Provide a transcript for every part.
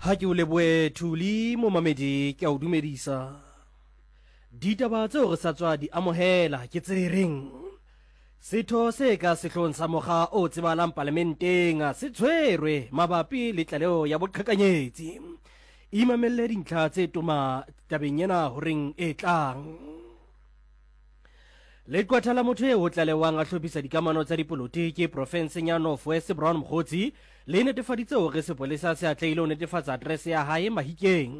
Ha ke o lebohe Thuli momamedi ke a o dumedisa. Ditaba tseo re sa tswa di amohela ke tse reng setho se ka sehloohong sa mokga o tsebahalang palamenteng se tshwerwe mabapi le tlaleho ya boqhekanyetsi. Imamelle dintlha tse toma tabeng ena horeng e tlang. Leqwetha la motho eo ho tlalehwang a hlophisa dikamano tsa dipolotiki profenseng ya North West Brown Mokgotsi le netefaditse hore sepolesa se atlehile ho netefatsa aterese ya hae Mahikeng.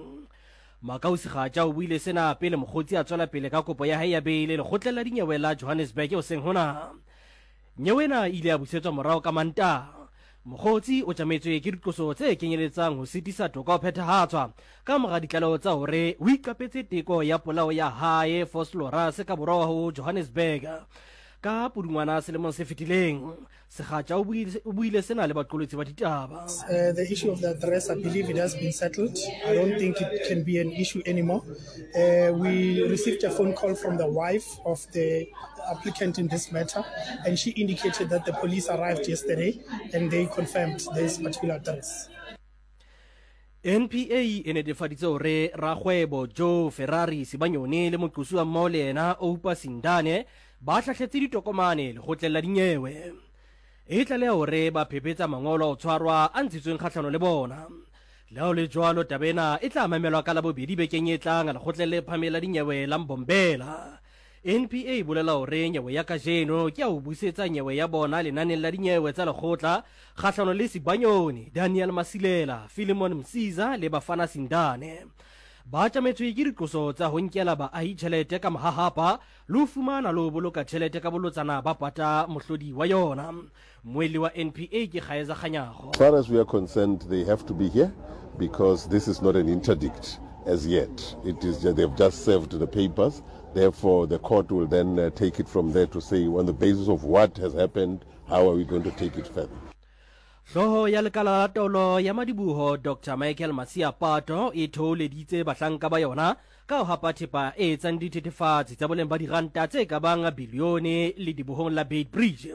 Makau Segatja o buile sena pele Mokgotsi a tswela pele ka kopo ya hae ya beile lekgotleng la dinyewe la Johannesburg hoseng hona. Nyewe ena e ile ya busetswa morao ka Mantaha. Mokgotsi o tjametswe ke diqoso tse kenyeletsang ho sitisa toka ho phethahatswa ka mora ditlaleho tsa hore o iqapetse teko ya polao ya hae Vosloorus ka borwa ho Johannesburg ka Pudungwana selemong se fetileng. Segatja o buile sena le baqolotsi ba ditaba. The issue of the address, I believe it has been settled. I don't think it can be an issue anymore. We received a phone call from the wife of the applicant in this matter, and she indicated that the police arrived yesterday and they confirmed this particular address. NPA e netefaditse hore rakgwebo Joe Ferrari Sibanyoni le moqosuwa mmoho le yena Oupa Sindane ba hlahletse ditokomane lekgotleng la dinyewe. E tlaleha hore ba phephetsa mangolo a ho tshwarwa a ntshitsweng kgahlano le bona. Le ha ho le jwalo, taba ena e tla mamelwa ka Labobedi bekeng e tlang lekgotleng le phahameng la dinyewe la Mbombela. NPA e bolela hore nyewe ya kajeno ke ya ho busetsa nyewe ya bona lenaneng la dinyewe tsa lekgotla kgahlano le Sibanyoni, Daniel Masilela, Philemon Msiza le Bafana Sindane. Ba tjametswe ke diqoso tsa ho nkela baahi tjhelete ka mahahapa le ho fumana le ho boloka tjhelete ka bolotsana ba pata mohlodi wa yona. Mmuelli wa NPA ke Kgaeza Kganyago. As far as we are concerned, they have to be here because this is not an interdict as yet. It is, they've just served the papers. Therefore, the court will then uh, take it from there to say on the basis of what has happened, how are we going to take it further. Hlooho ya lekala la taolo ya madiboho Dr Michael Masiapato e thoholeditse bahlanka ba yona ka ho hapa thepa e etsang dithethefatsi tsa boleng ba diranta tse ka bang bilione ledibohong la Beitbridge.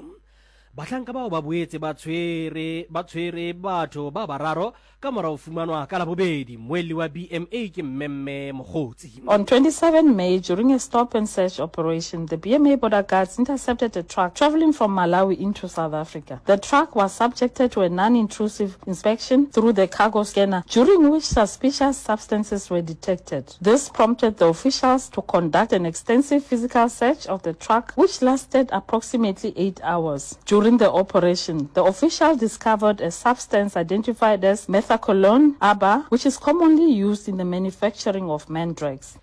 Bahlanka bao ba boetse ba tshwere ba tshwere batho ba bararo ka mora ho fumanwa ka Labobedi. Mmuelli wa BMA ke Mmemme Mokgotsi. On 27 May, during a stop and search operation, the BMA border guards intercepted a truck travelling from Malawi into South Africa. The truck was subjected to a non-intrusive inspection through the cargo scanner, during which suspicious substances were detected. This prompted the officials to conduct an extensive physical search of the truck, which lasted approximately eight hours. During the operation, the official discovered a substance identified as methaqualone ABA, which is commonly used in the manufacturing of mandrax.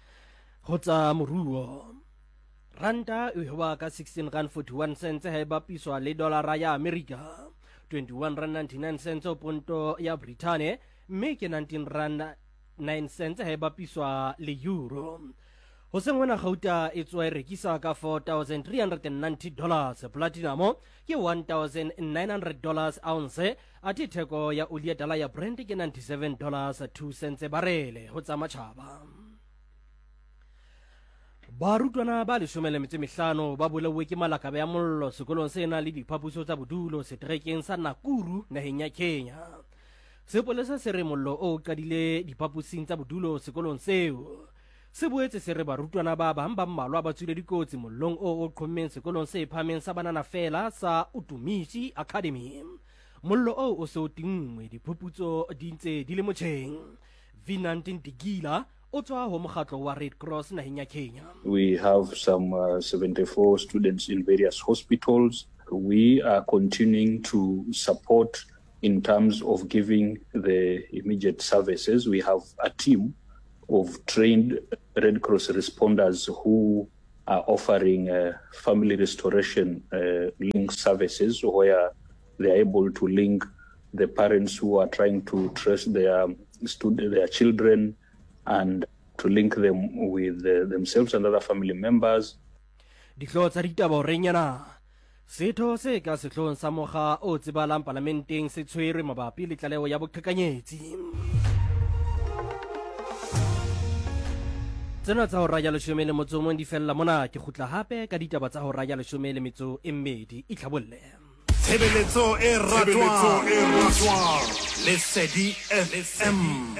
Ho tsa moruo, ranta e hweba ka 16 rand 41 cents ha e bapiswa le dolara ya Amerika, 21 rand 99 cents ho ponto ya Brithane mme ke 19 rand 9 cents ha e bapiswa le euro. Hoseng hona gauta e tsoa e rekisa ka 4390 dollars, platinum ke 1900 dollars ounce, athe theko ya oli ya tala ya Brent ke 97 dollars 2 cents barele ho tsa matjhaba. Barutwana ba leshome le metso e mehlano ba bolauwe ke malakabe a mollo sekolong se nang le diphapuso tsa bodulo seterekeng sa Nakuru naheng ya Kenya. Sepolesa se re mollo o qadile diphaposing tsa bodulo sekolong seo. Se boetse se re barutwana ba bang ba mmalwa ba tswile dikotsi mollong o o qhommeng sekolong se phahameng sa banana feela sa Utumishi Academy. Mollo oo o se o tinngwe, diphuputso di ntse di le motjheng. Vinand Ndigila o tswa ho mokgatlo wa Red Cross naheng ya Kenya. We have some 74 students in various hospitals. We are continuing to support in terms of giving the immediate services. We have a team of trained Red Cross responders who are offering uh, family restoration uh, link services where they are able to link the parents who are trying to trace their student, their children and to link them with uh, themselves and other family members. Dihlooho tsa ditaba horeng ena. Setho se ka sehloohong sa mokga o tsebahalang palamenteng se tshwerwe mabapi le tlaleho ya boqhekanyetsi. Tsena tsa hora ya leshome le motso o mong di fella mona. Ke kgutla hape ka ditaba tsa hora ya leshome le metso e mmedi. Itlhabolle. Tshebeletso e ratwang. Lesedi FM.